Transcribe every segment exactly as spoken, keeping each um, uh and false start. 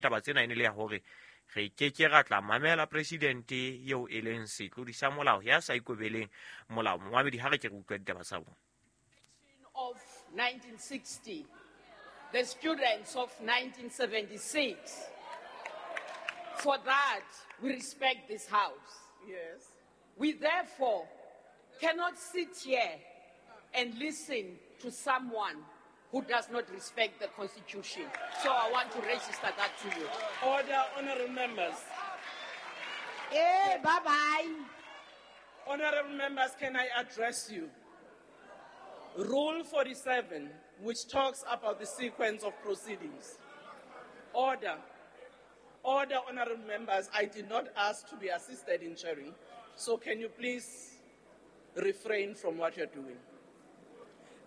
Taba tsena e ne le ya hore re ke ke ra tla mamela presidente eo e leng setlodi sa molao ya sa ikobeleng molao. Momamedi, ha re ke re utlwa ditaba tsa bona. Of nineteen sixty, the students of nineteen seventy-six. For that, we respect this house. Yes. We therefore cannot sit here and listen to someone who does not respect the Constitution. So I want to register that to you. Order, honorable members. Hey, bye-bye. Honorable members, can I address you? Rule forty-seven, which talks about the sequence of proceedings. Order. Order, honorable members, I did not ask to be assisted in chairing. So can you please refrain from what you're doing?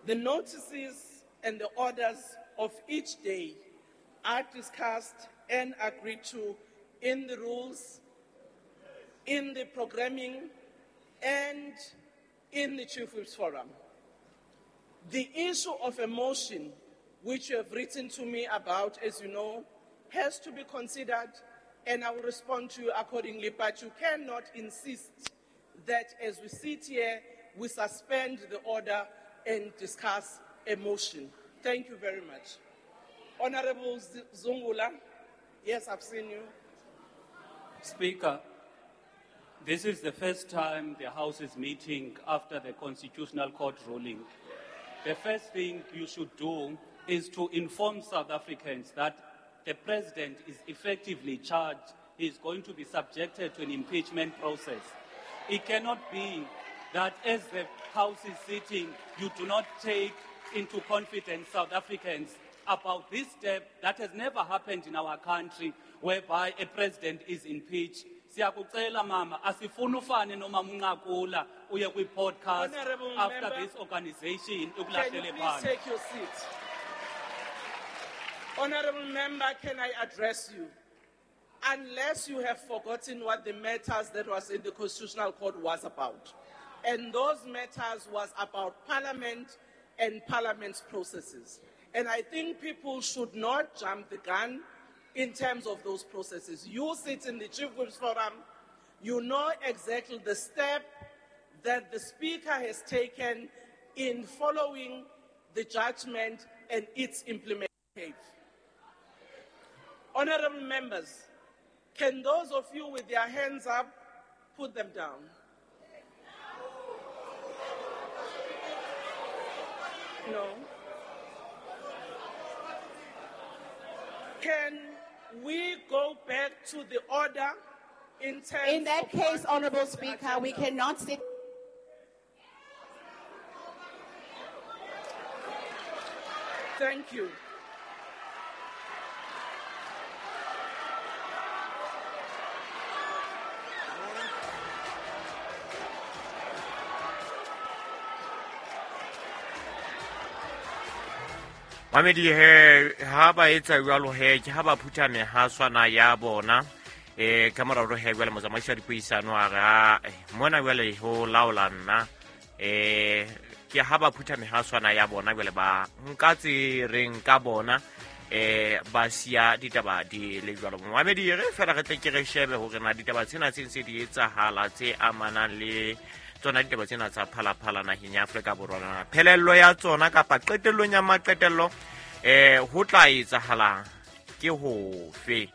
The notices and the orders of each day are discussed and agreed to in the rules, in the programming, and in the Chief Whips Forum. The issue of a motion, which you have written to me about, as you know, has to be considered, and I will respond to you accordingly, but you cannot insist that as we sit here, we suspend the order and discuss a motion. Thank you very much. Honorable Zungula, yes, I've seen you. Speaker, this is the first time the House is meeting after the Constitutional Court ruling. The first thing you should do is to inform South Africans that the president is effectively charged. He is going to be subjected to an impeachment process. It cannot be that as the House is sitting, you do not take into confidence South Africans about this step that has never happened in our country, whereby a president is impeached. Siyakucela mama, asifuni ufane noma munqakula uye kwi-podcast Honorable after member, this organization can you ukulahlele please phansi. take your seat? Honorable member, can I address you? Unless you have forgotten what the matters that was in the Constitutional Court was about. And those matters was about Parliament and Parliament's processes. And I think people should not jump the gun in terms of those processes. You sit in the Chief Whips Forum, you know exactly the step that the Speaker has taken in following the judgment and its implementation. Honorable members, can those of you with their hands up put them down? No. Can we go back to the order in terms In that of case, what is Honorable the Speaker, we agenda? cannot sit. Thank you. Mamedi he ha ba etsa jwalo he ke ha ba phutha mehaswana ya bona eh ka mora hore he jwale motsamaisi wa dipuisano a re, ah, mona jwale ho laola nna eh ke ha ba phutha mehaswana ya bona jwale ba nka tse reng ka bona eh ba siya ditaba di le jwalo. Mamedi re fela re tle ke re shebe hore na ditaba tsena tse ntse di etsahala tse amanang le tsona ditaba tsena tsa Phalaphala naheng ya Afrika Borwa na phelello ya tsona kapa qetellong ya maqetello eh ho tla etsahala ke hofe.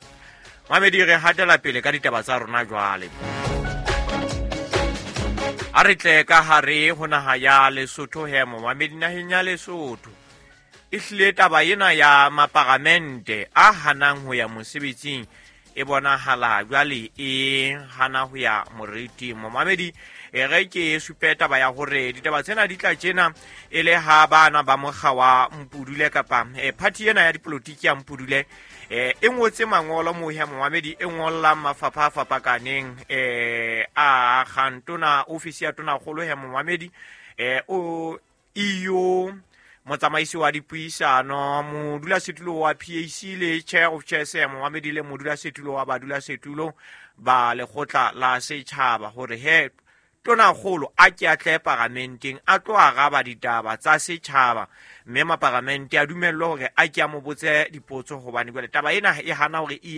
Mamedi re hatela pele ka ditaba tsa rona jwale. A re tle ka hare ho naha ya Lesotho he momamedi naheng ya Lesotho. E hlile taba ena ya maparamente a hanang ho ya mosebetsing e bonahala jwale e hana ho ya moriting. Momamedi e re ke supe taba ya hore ditaba tsena di tla tjena e le ha bana ba mokga wa Mpudule kapa e party ena ya dipolotiki ya Mpudule e e ngotse mangolo mo ya momamedi e ngollang mafapha a fapakaneng e a kgantona ofisi ya tona kgolo ya momamedi e o E U motsamaisi wa dipuisano modulasetulo wa P A C le chair of chairs ya momamedi le modulasetulo wa badulasetulo ba lekgotla la setjhaba hore he Tonakgolo a ke a tle paramenteng a tlo araba ditaba tsa setjhaba, mme maparamente a dumellwe hore a ke a mo botse dipotso, hobane jwale taba ena e hana hore e